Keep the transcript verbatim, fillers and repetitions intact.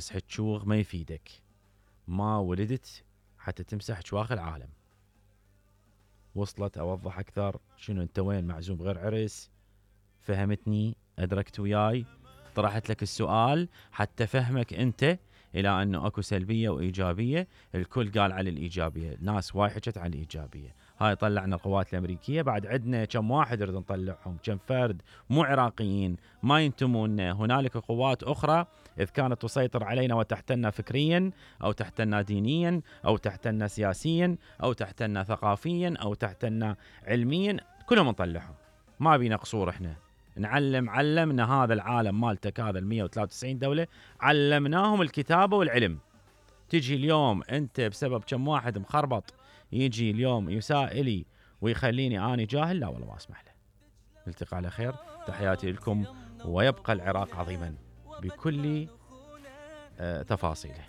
مسحة شوغ ما يفيدك، ما ولدت حتى تمسح شواغ العالم. وصلت؟ اوضح اكثر؟ شنو انت وين معزوم بغير عرس؟ فهمتني؟ ادركت وياي؟ طرحت لك السؤال حتى فهمك انت الى انه اكو سلبية وايجابية. الكل قال على الايجابية، ناس وايد حكت على الايجابية. هاي طلعنا القوات الامريكية، بعد عندنا كم واحد نريد نطلعهم، كم فرد مو عراقيين ما ينتمون. هنالك قوات اخرى اذ كانت تسيطر علينا وتحتلنا فكريا او تحتلنا دينيا او تحتلنا سياسيا او تحتلنا ثقافيا او تحتلنا علميا، كلهم نطلعهم. ما بينا قصور، احنا نعلم علمنا هذا العالم مالتك، هذا المية وثلاثة وتسعين دولة علمناهم الكتابة والعلم. تجي اليوم انت بسبب كم واحد مخربط يجي اليوم يسائلي ويخليني اني جاهل؟ لا والله ما اسمح له. نلتقي على خير، تحياتي لكم، ويبقى العراق عظيما بكل آه تفاصيله.